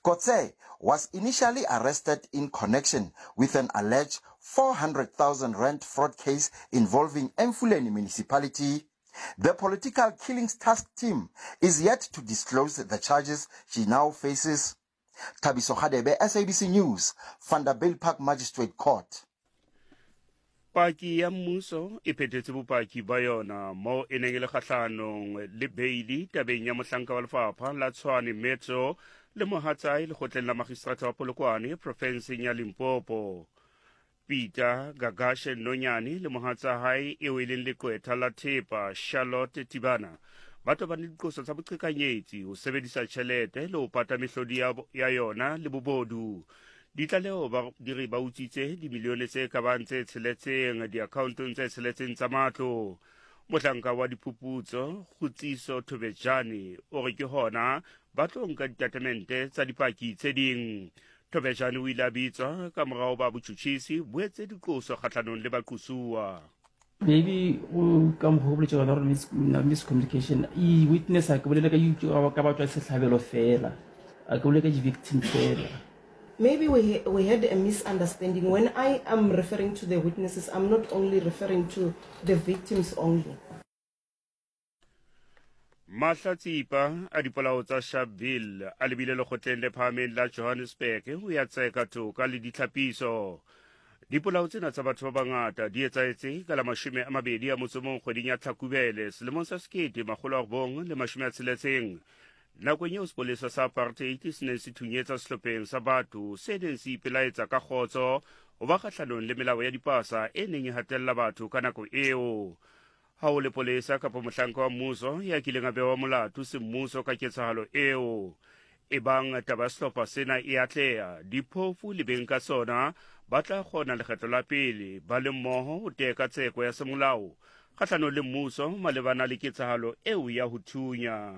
Kotze was initially arrested in connection with an alleged 400,000 rand fraud case involving Emfuleni municipality. The political killings task team is yet to disclose the charges she now faces. Thabiso Hadebe, SABC News, Vanderbijlpark Magistrate Court. Paki ya mmuso e phethetse bopaki ba yona moo e neng e le kgahlanong le beili tabeng ya mohlanka wa lefapha la Tshwane Metro le mohatsae lekgotleng la magistrata wa Polokwane profenseng ya Limpopo. Peter Gagashe Nonyane le mohatsa hae eo e leng leqwetha la thepa Charlotte Tibana ba tobane le diqoso tsa boqhekanyetsi, ho sebedisa tjhelete le ho pata mehlodi ya yona le bobodu. Ditlaleho ba di re ba utswitse dimilione tse ka bang tse tsheletseng diakhaontong tse tsheletseng tsa matlo. Mohlanka wa diphuputso Kgutsiso Thobejane o re ke hona ba tlo nka ditatemente tsa dipaki tse ding. Thobejane o ile a bitswa ka morao ba botjhutjhisi bo etse diqoso kgahlanong le baqosuwa. Maybe o ka mokgwa o boletše gona gore miscommunication e witness a ke bolele ka ka batswa sehlabelo fela a ke bolele ka di-victim fela. Maybe we had a misunderstanding. When I am referring to the witnesses, I'm not only referring to the victims only. Mahlatsipa a dipolao tsa Sharpeville a lebile lekgotleng le phahameng la Johannesburg ho ya tseka toka le ditlhapiso. Dipolao tsena tsa batho ba bangata di etsahetse ka la 21 kgweding ya Tlhakubele selemong sa 1960 nakong eo sepolesa sa apartheid se neng se thunyetsa sehlopheng sa batho se neng se ipelaetsa ka kgotso ho ba kgahlanong le melao ya dipasa e neng e hatella batho ka nako eo. Ha ho lepolesa kapa mohlanka wa mmuso ya kileng a bewa molato semmuso ka ketsahalo eo. Ebang taba ya sehlopha sena e atleha, diphofu le beng ka sona ba tla kgona lekgetlo la pele ba le mmoho ho teka tseko ya semolao kgahlanong le mmuso malebana le ketsahalo eo ya ho thunya.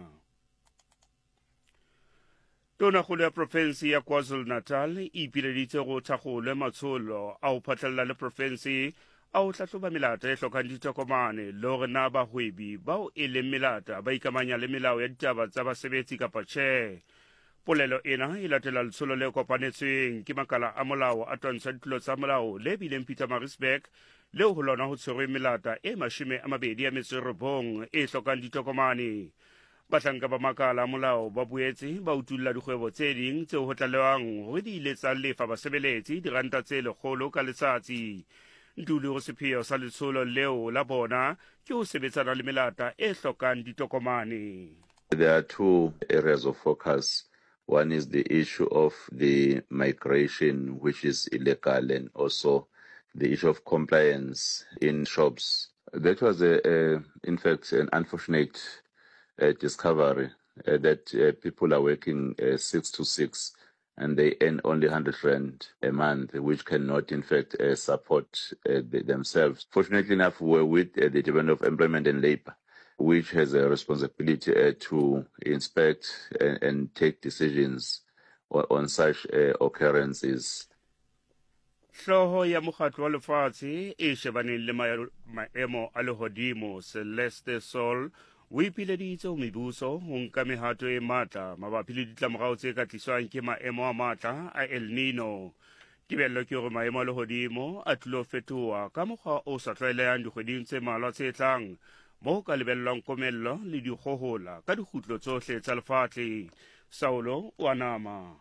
Tonakgolo ya profense ya KwaZulu-Natal e ipileditse go thakgolwe matsholo a ho phatlalla le profense a ho hlahloba melata e hlokang ditokomane le hore na bahwebi bao e leng melata ba ikamanya le melao ya ditaba tsa basebetsi kapa tjhe. Polelo ena e latela letsholo le kopanetsweng ke makala a molao a twantsha ditlolo tsa molao le bileng Pietermaritzburg leo ho lona ho tshwerweng melata e 29 e hlokang ditokomane. Bahlanka ba makala a molao ba boetse ba utulla dikgwebo tse ding tseo ho tlalehwang hore di ile tsa lefa basebeletsi diranta tse lekgolo ka letsatsi. Ntuli o re sepheo sa letsholo leo la bona ke ho sebetsana le melata e hlokang ditokomane. There are two areas of focus. One is the issue of the migration, which is illegal, and also the issue of compliance in shops. That was, in fact, an unfortunate discovery that people are working 6 to 6 and they earn only 100 rand a month, which cannot, in fact, support themselves. Fortunately enough, we're with the Department of Employment and Labor, which has a responsibility to inspect and take decisions on such occurrences. Hlooho ya Mokgatlo wa Lefatshe e shebaneng le maemo a lehodimo, Celeste Sol, o ipileditse ho mebuso ho nka mehato e matla mabapi le ditlamorao tse ka tliswang ke maemo a matla a El Nino. Tebello ke hore maemo a lehodimo a tlilo fetoha ka mokgwa o sa tlwaelehang dikgweding tse mmalwa tse tlang, mo ho ka lebellwang komello le dikgohola ka dikgutlo tsohle tsa lefatshe. Saulo o a nama.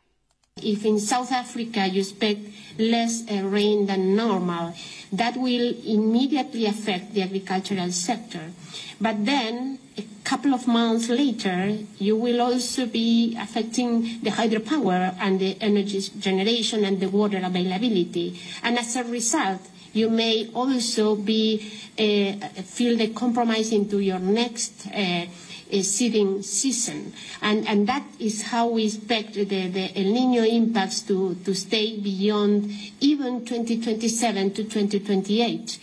If in South Africa you expect less rain than normal, that will immediately affect the agricultural sector. But then, a couple of months later, you will also be affecting the hydropower and the energy generation and the water availability. And as a result, you may also be feel the compromise into your next seeding season. And that is how we expect the El Niño impacts to stay beyond even 2027 to 2028.